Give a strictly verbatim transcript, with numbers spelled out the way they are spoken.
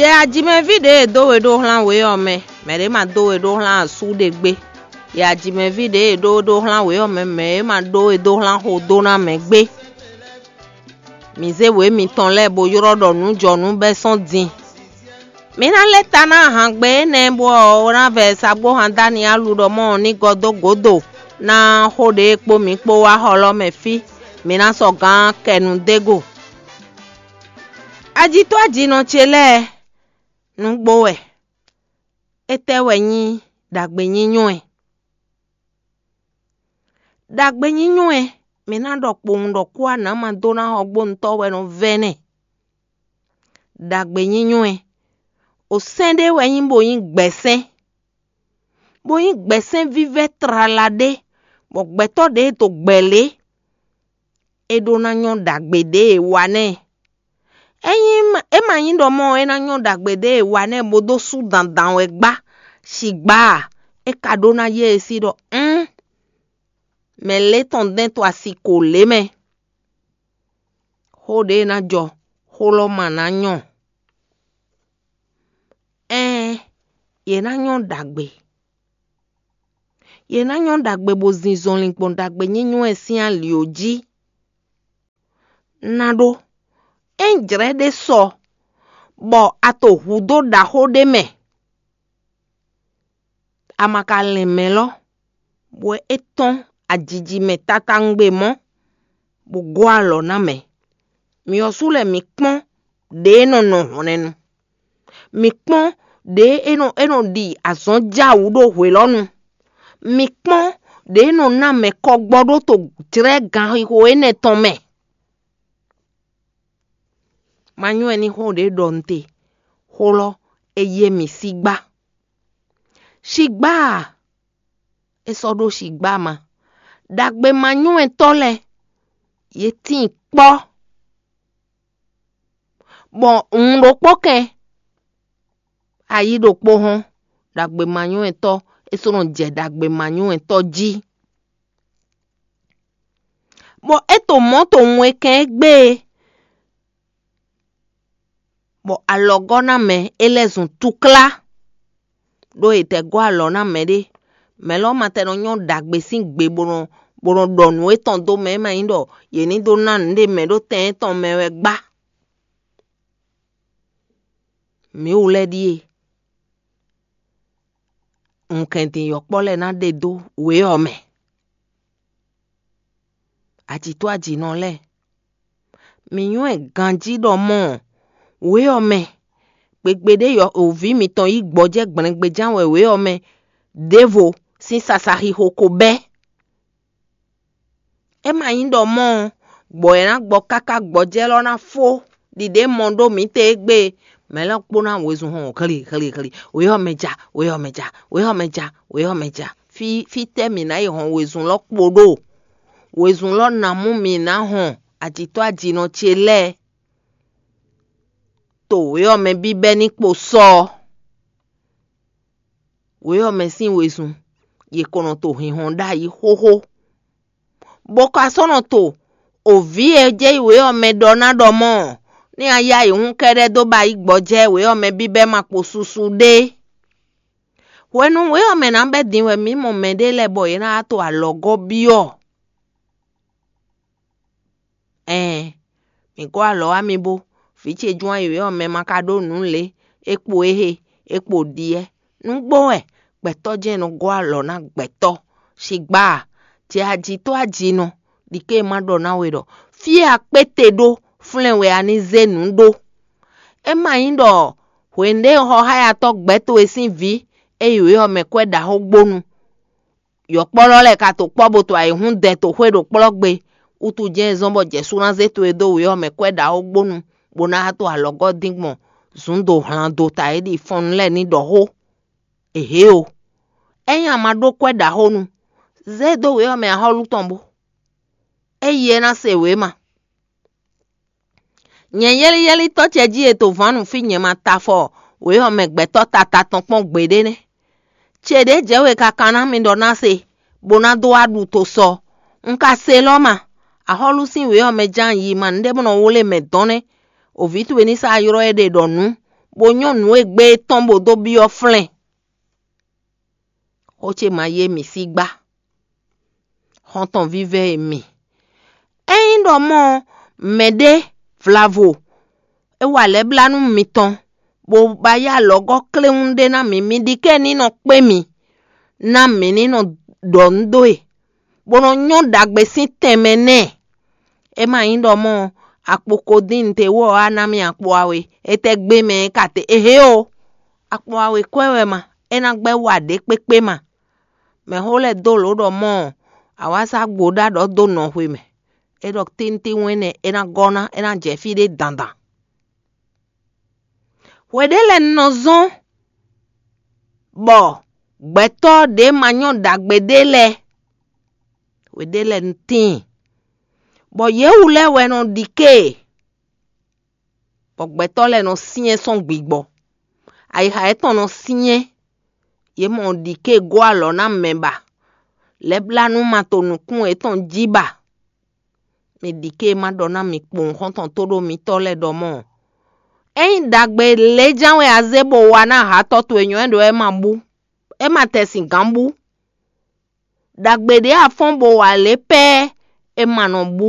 Yɛ ajimɛví ɖě e dó we ɖó xlán wě ɔ́ mɛ, mɛ̌ ɖě ma dó we ɖó xlán asú ɖé gbé. Yɛ ajimɛví ɖě e ɖó ɖó xlán wě ɔ́ mɛ, mɛ̌ e ma ɖó we dó xlán xo dó ná mɛ gbé. Mǐ zé wě mitɔn lɛ́ɛ bó ylɔ́ ɖɔ nǔ jɔ nǔ bɛ́ sɔ́n din. Mi ná lɛ́ ta ná ahan gbe énɛ́ bó ɔ́ ná vɛ sagbóhan Daniyalu ɖɔ mɔ ní gɔ́ dó gǒdo ná xó ɖě kpó mǐ kpó wá xɔ lɔ́ mɛ fí. Mi ná sɔ́ gǎn kɛ nǔ dó e go. Ajitɔ́ ajinɔ ce lɛ́ɛ, nǔgbó wɛ. Étɛ́ wɛ nyí ɖagbe nyínyɔ́ ɛ? Ɖagbe nyínyɔ́ ɛ, mǐ ná ɖɔ kpowun ɖɔ kú anǎ ma dó ná xɔgbónutɔ́ wɛ nɔ vɛ́ nɛ́. Ɖagbe nyínyɔ́ ɛ, o sɛ́n ɖé wɛ nyí bó nyí gbɛ̌sɛ́n, bó nyí gbɛ̌sɛ́n vívɛ́ tlala ɖé, bɔ gbɛtɔ́ ɖě e to gbɛ̌ lě, é ɖó ná nyɔ́ ɖagbe ɖě e wa nɛ́. Ényí é ma nyí ɖɔ mɔ̌ ɔ́, é ná nyɔ́ ɖagbe ɖě e wa nɛ́ bó dó sú dandan wɛ gbá, sigbá a, é ka ɖó ná yé e sí ɖɔ ún, mɛ lě tɔn dɛn to asi ko lě mɛ. Xó ɖě e ná jɔ, xó lɔ́ ma ná nyɔ. Ɛɛn, yě ná nyɔ́ ɖagbe. Yě ná nyɔ́ ɖagbe bó zin zɔnlin gbɔn ɖagbe nyínyɔ́ ɛ sín ali ɔ́ jí. Ná ɖó, ényí jlɛ̌ ɖé sɔ, bɔ a to hǔdó ɖaxó ɖé mɛ, a ma ka lɛn mɛ̌ lɔ́, bɔ é tɔ́n ajiji mɛ tatawungbe mɔ̌, bó gɔ́ alɔ ná mɛ. Myɔ sú lɛ́ɛ mǐ kpɔ́n ɖě e nɔ nɔ hɔnɛnu. Mǐ kpɔ́n ɖě e nɔ e nɔ ɖi azɔn jɛ awǔ ɖó hwelɔ́nu. Mǐ kpɔ́n ɖě e nɔ ná mɛ kɔgbɔ ɖó to jlɛ́ ganxixo énɛ́ tɔn mɛ. Ma nywɛ́ ní xó ɖě ɖɔ un te, xó lɔ́ é yé mì sígbá. Sigbá a? É sɔ́ ɖó sigbá ma. Ɖagbe ma nywɛ́tɔ́ lɛ́ɛ, yě tíin kpɔ́, bɔ un ɖokpó kɛn, ayí ɖokpó hɔ́n, ɖagbe ma nywɛ́tɔ́, é sɔ́ nɔ jɛ ɖagbe ma nywɛ́tɔ́ jí. Bɔ é to mɔ̌ to wun e kɛn é gbé e, bɔ alɔgɔ́ ná mɛ é lɛ́ zun túklá, ɖó è tɛ gɔ́ alɔ ná mɛɖé. Mɛ̌ lɔ́ ma tɛ nɔ nyɔ́ ɖagbe sín gbe bó nɔ bó nɔ ɖɔ nǔ étɔn dó mɛ e ma nyí ɖɔ yě ní dó ná nǔɖé mɛ ɖó tɛn étɔn mɛ wɛ gbá. Mǐ wú lɛ́ɛ ɖíe, wunkɛndin yɔkpɔ́ lɛ́ɛ ná ɖe dó wě ɔ́ mɛ. Ajǐtɔ́ ajǐnɔ lɛ́ɛ, mǐ nywɛ́ ganjí ɖɔ mɔ̌ wě ɔ́ mɛ, gbegbe ɖé yɔ òví mitɔn yí gbɔjɛ́ gblɛngbeján wɛ wě ɔ́ mɛ ɖěvo sín sasaxixo ko bɛ́. É ma nyí ɖɔ mɔ̌ ɔ́, gbɔ̌ e ná gbɔ káká gbɔjɛ́ lɔ́ ná fó ɖiɖě mɔ ɖó mǐtɛn égbé e, mɛ̌ lɛ́ɛ kpó ná wezun hɔn hli hli hli, wě ɔ́ mɛ ja, wě ɔ́ mɛ ja, wě ɔ́ mɛ ja, wě ɔ́ mɛ ja. Fí fítɛ́ mǐ ná yi hɔn wezun lɔ́ kpo ɖo? Wezun lɔ́ ná mú mǐ ná hɔn ajǐtɔ́ ajinɔ ce lɛ́ɛ to wě ɔ́ mɛ bíbɛ́ ní kpo sɔ ɔ́. Wě ɔ́ mɛ sín wezun, yě ko nɔ to hinhɔn ɖ'ayǐ xóxó, bó ka sɔ́ nɔ to òví e jɛ yi wě ɔ́ mɛ ɖɔ ná ɖɔ mɔ̌, ní a yá yi hún kɛ́ɖɛ́ dó ba yi gbɔjɛ́ wě ɔ́ mɛ bíbɛ́ ma kpo susu ɖé. Hwenu wě ɔ́ mɛ ná bɛ́ din wɛ mǐ mɔ mɛɖé lɛ́ɛ bɔ yě ná wá to alɔgɔ́ byɔ́. Ɛɛn, mǐ gɔ́ alɔ wá mi bó, vǐ ce Jwan e wě ɔ́ mɛ ma ka ɖó nǔ lě, é kpo éhe, é kpo ɖiɛ. Nǔgbó wɛ, gbɛtɔ́ jɛ́n nɔ gɔ́ alɔ ná gbɛtɔ́. Sigbá a, jɛ ajǐtɔ́ ajinɔ, ɖi ké e ma ɖɔ ná we ɖɔ fí e a kpé te ɖó flɛ́n wɛ a ní zé nǔ ɖó. É ma nyí ɖɔ hwenu ɖé xɔxáyatɔ́ gbɛ̌ towe sín vǐ e yi wě ɔ́ mɛ kwɛ́ ɖaxó gbónu, yɔ̌kpɔ́lɔ́ lɛ́ɛ ka to kpɔ́ bó to ayǐhún dɛ to xwé ɖo kplɔ́ gbe, wútu jɛ́n e zɔ́n bɔ jɛ̌ sú ná zé towe dó wě ɔ́ mɛ kwɛ́ ɖaxó gbónu, bó ná to alɔgɔ́ dín gbɔn zǔn do hlan do ta é ɖi fɔnnu lɛ́ɛ ní ɖɔ xó. Èhě o, ényí a ma ɖó kwɛ́ ɖaxó nu, zé e dó wě ɔ́ mɛ axɔ́lú tɔn bó. Éyi é ná se wě ma. Nyɛ yɛ́líyɛ́lítɔ́ ce jí e to vǎn nú fí nyɛ ma ta afɔ wě ɔ́ mɛ gbɛtɔ́ tata tɔn kpɔ́n gbeɖé nɛ́. Ce ɖě jɛ we ka kan ná mi ɖɔ ná se, bó ná dó wá ɖu to sɔ. Un ka se lɔ́ ma, axɔ́lú sín wě ɔ́ mɛ ján yi ma nǔɖé bó nɔ wlé mɛ dɔn nɛ́. Òví towe ní sá ylɔ́ éɖée ɖɔ nǔ, bó nyɔ́ nǔ e gbé é tɔn bó dó byɔ́ flɛ́n. Xó ce ma yé mì sí gbá. Xɔ́ntɔn vívɛ́ e mi. Ényí ɖɔ mɔ̌ mɛɖé vlavo é wa lɛ̌blánú mitɔn, bó ba yá alɔgɔ́ kléwún ɖé ná mǐ, mi ɖi kɛ́ ní nɔ kpé mì, ná mǐ ní nɔ ɖɔ nǔ dó e, bó nɔ nyɔ́ ɖagbe sín tɛnmɛ nɛ́. É ma nyí ɖɔ mɔ̌ akpo ko dín te wú ɔ́, á ná mì akpo awe. Étɛ́ gbé mɛ é ka te? Ehé o, akpo awe kwɛ́ wɛ ma, é ná gbɛ́ wa ɖě kpékpé ma. Mɛxó lɛ́ɛ dó lǒ ɖɔ mɔ̌ awǎsá gbo ɖó aɖɔ̌ dó nɔ xwe mɛ. É ɖɔ tíntín wɛn nɛ́ é ná gɔ́ ná, é ná jɛ fí ɖé dandan. Hwe ɖé lɛ́ɛ nɔ zɔ́n bɔ gbɛtɔ́ ɖě ma nyɔ́ ɖagbe ɖé lɛ́ɛ, hwe ɖé lɛ́ɛ tíin, bɔ yě wú lɛ́ɛ wɛ nɔ ɖi ké, bɔ gbɛtɔ́ lɛ́ɛ nɔ syɛ́n sɔ́n gbigbɔ. Ayixa yětɔn nɔ syɛ́n, yě mɔ ɖi ké gɔ́ alɔ ná mɛ ba, lɛ̌blánú ma to nukún yětɔn jí ba. Mi ɖi ké ma ɖɔ ná mi kpowun xɔ́ntɔn tóɖó mitɔ́ lɛ́ɛ ɖɔ mɔ̌. Ényí ɖagbe lě ján wɛ a zé bó wa ná hatɔ́ towe nyɔ̌ wɛ ɖo é ma bú, é ma tɛ sin gǎn bú. Ɖagbe ɖě a fɔ́n bó wa lě pɛ́ é ma nɔ bú.